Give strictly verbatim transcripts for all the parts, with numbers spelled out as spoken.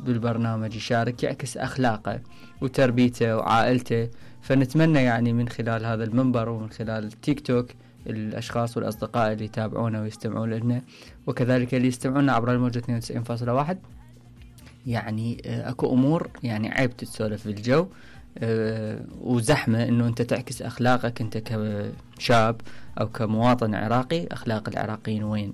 بالبرنامج يشارك يعكس أخلاقه وتربيته وعائلته. فنتمنى يعني من خلال هذا المنبر ومن خلال التيك توك الأشخاص والأصدقاء اللي يتابعونا ويستمعون لنا، وكذلك اللي يستمعون عبر الموجة اثنين وتسعين فاصلة واحد، يعني أكو أمور يعني عيب تتسولف في الجو أه وزحمة إنه أنت تعكس أخلاقك أنت كشاب أو كمواطن عراقي. أخلاق العراقيين وين؟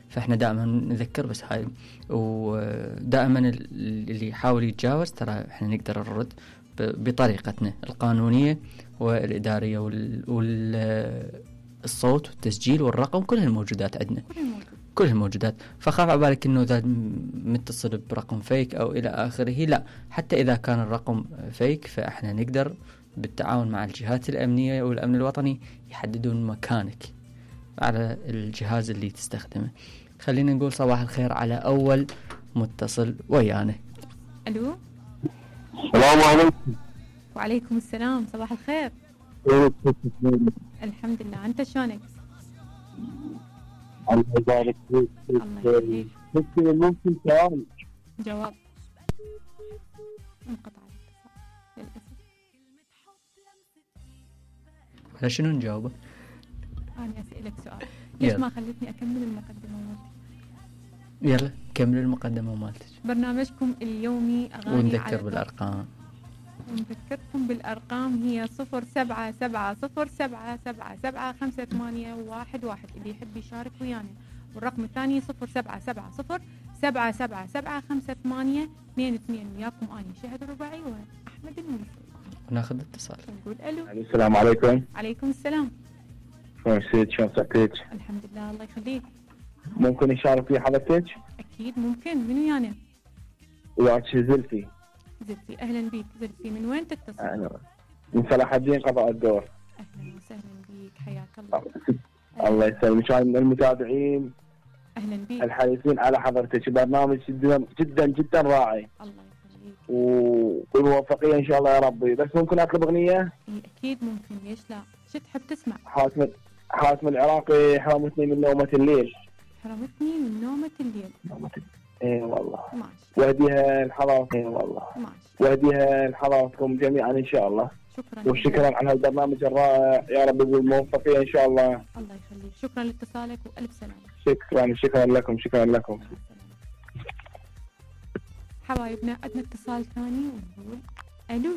فإحنا دائما نذكر بس هاي، ودائما اللي يحاول يتجاوز ترى إحنا نقدر نرد بطريقتنا القانونية والإدارية والصوت والتسجيل والرقم، كل الموجودات عندنا، كل الموجودات. فخاف عبالك إنه إذا متصل برقم فيك أو إلى آخره، لا، حتى إذا كان الرقم فيك فإحنا نقدر بالتعاون مع الجهات الأمنية والأمن الوطني يحددون مكانك على الجهاز اللي تستخدمه. خلينا نقول صباح الخير على أول متصل ويانا. ألو، السلام عليكم. وعليكم السلام، صباح الخير. الحمد لله، أنت شلونك؟ الله يبارك فيك. الله يخليك. ممكن سؤال؟ جواب. انقطع للأسف. على شنو نجاوبه؟ أنا أسألك سؤال، ليش ما خلتني أكمل المقدمة مالتي؟ يلا كمل المقدمة مالتك. برنامجكم اليومي أغاني ونذكر بالأرقام. ونذكركم بالأرقام، هي صفر سبعة سبعة صفر سبعة سبعة سبعة خمسة ثمانية واحد واحد اللي يحب يشارك ويانا، والرقم الثاني صفر سبعة سبعة صفر سبعة سبعة سبعة خمسة ثمانية اثنين اثنين. وياكم أنا شهد الرباعي وأحمد الموسى. وناخذ اتصال. نقول ألو. السلام عليكم. عليكم السلام. شلون سيد؟ شلون صحتك؟ الحمد لله، الله يخليك. ممكن يشارك في حضرتك؟ أكيد ممكن. من ويانا؟ وياك زلفي. زلفي، أهلا بيك. زلفي، من وين تتصل؟ أهلا. من صلاح الدين قضاء الدور. أهلا وسهلا بيك، حياك الله. الله يسلمك. أنا من المتابعين أهلا بيك الحريصين على حضرتك. برنامج جدا جدا جدا راعي. الله يخليك. وبالموفقية إن شاء الله يا ربي. بس ممكن أطلب أغنية؟ إيه أكيد ممكن، ليش لا؟ شو تحب تسمع؟ حاتم حاتم العراقي، حرمتني من نومة الليل. حرمتني من نومة الليل. نومة الليل. اي والله. ماشي. وهديها لحضراتكم. اي والله. ماشي. وهديها لحضراتكم جميعا ان شاء الله. شكرا. وشكرا على هالبرنامج الرائع يا رب بالموفقية ان شاء الله. الله يخليك، شكرا لاتصالك والف سلامة. شكرا شكرا لكم شكرا لكم. حبايبنا عندنا اتصال ثاني ونقول الو.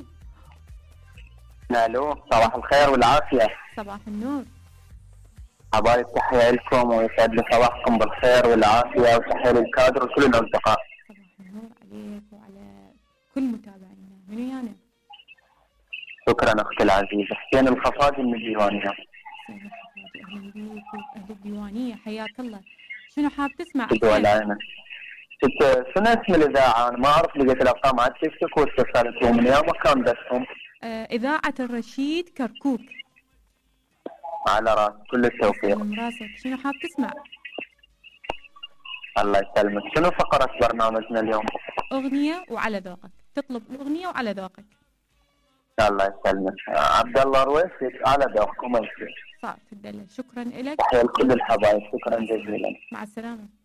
الو، صباح الخير والعافية. صباح النور. حبايب، تحية لكم ويسعد لي صباحكم بالخير والعافية، وتحية للكادر وكل الأصدقاء. صباح النور عليك وعلى كل متابعينا. من ويانا؟ شكرا أختي العزيزة. حسين الخفاجي من الديوانية. حسين الخفاجي، أهلا بيك وأهل الديوانية، حياك الله. شنو حاب تسمع؟ شنو شنو اسم الإذاعة؟ أنا ما أعرف، لقيت الأرقام على التيك توك واتصلت ومن يوم مكان بسهم. آه، إذاعة الرشيد كركوك. على راس، كل التوفيق. من راسك. شنو حاب تسمع؟ الله يسلمك. شنو فقرة برنامجنا اليوم؟ أغنية وعلى ذوقك، تطلب الأغنية وعلى ذوقك. الله يسلمك. عبد الله رويسي، على ذوقكم. صار تدلل. شكرا لك. تحية لكل الحبايب، شكرا جزيلا. مع السلامة.